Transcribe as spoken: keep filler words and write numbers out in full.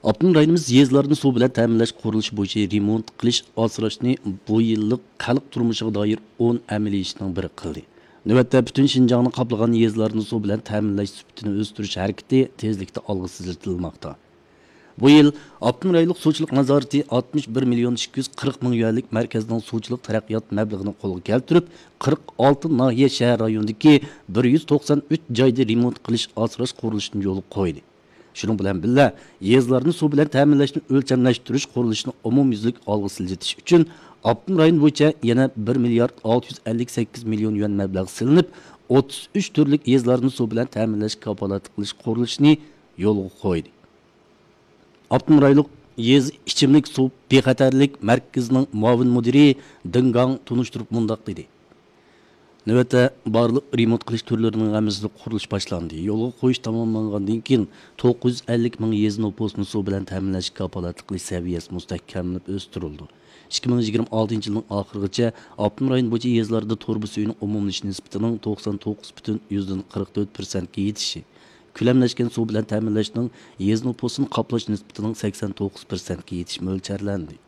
ئاپتونوم رايونىمىز يېزىلارنى سۇ بىلەن تەمىنلەش قۇرۇلۇشى بويىچە رېمونت قىلىش، ئاسراشنى بۇ يىللىق خەلق تۇرمۇشىغا دائىر ئون ئەمەلىي ئىشنىڭ بىرى قىلدى. نۆۋەتتە پۈتۈن شىنجاڭنى قاپلىغان يېزىلارنى سۇ بىلەن تەمىنلەش سۈپىتىنى ئۆستۈرۈش ھەرىكىتى تېزلىكتە ئالغا سىلجىتىلماقتا. بۇ يىل ئاپتونوم رايونلۇق سۇچىلىق نازارىتى ئاتمىش بىر مىليون ئىككى يۈز قىرىق مىڭ يۈەنلىك مەركەزنىڭ سۇچىلىق تەرەققىيات مەبلىغىنى قولغا كەلتۈرۈپ، قىرىق ئالتە ناھىيە، شەھەر رايونىدىكى بىر يۈز توقسان ئۈچ جايدا رېمونت قىلىش، ئاسراش قۇرۇلۇشىنى يولغا قويدى. شۇنىڭ بىلەن بىللە، يېزىلارنى سۇ بىلەن تەمىنلەشنى ئۆلچەملەشتۈرۈش قۇرۇلۇشىنى ئومۇميۈزلۈك ئالغا سىلجىتىش ئۈچۈن ئاپتونوم رايون بويىچە يەنە بىر مىليارد ئالتە يۈز ئەللىك سەككىز مىليون يۈەن مەبلەغ سېلىنىپ، ئوتتۇز ئۈچ تۈرلۈك يېزىلارنى سۇ بىلەن تەمىنلەش، كاپالەتلىك قىلىش قۇرۇلۇشىنى يولغا قويدى. ئاپتونوم رايونلۇق يېزا ئىچىملىك سۇ بىخەتەرلىك مەركىزىنىڭ مۇئاۋىن مۇدىرى دېڭ گاڭ تونۇشتۇرۇپ مۇنداق دېدى: نۆۋەتتە بارلىق رېمونت قىلىش تۈرلىرىنىڭ ھەممىسىدە قۇرۇلۇش باشلاندى. يولغا قويۇش تاماملانغاندىن كېيىن، توققۇز يۈز ئەللىك مىڭ يېزا نوپۇسىنى سۇ بىلەن تەمىنلەشكە كاپالەتلىك قىلىش سەۋىيەسى مۇستەھكەملىنىپ ئۆستۈرۈلىدۇ. ئىككى مىڭ يىگىرمە ئالتىنچى يىلنىڭ ئاخىرىغىچە ئاپتونوم رايون بويىچە يېزىلاردا تۇرۇبا سۈيىنىڭ ئومۇملىشىش نىسبىتىنىڭ توقسان توققۇز پۈتۈن يۈزدىن قىرىق تۆت پىرسەنتكە يېتىشى، كۆلەملەشكەن سۇ بىلەن تەمىنلەشنىڭ يېزا نوپۇسىنى قاپلاش نىسبىتىنىڭ سەكسەن توققۇز پىرسەنتكە يېتىشى مۆلچەرلەندى.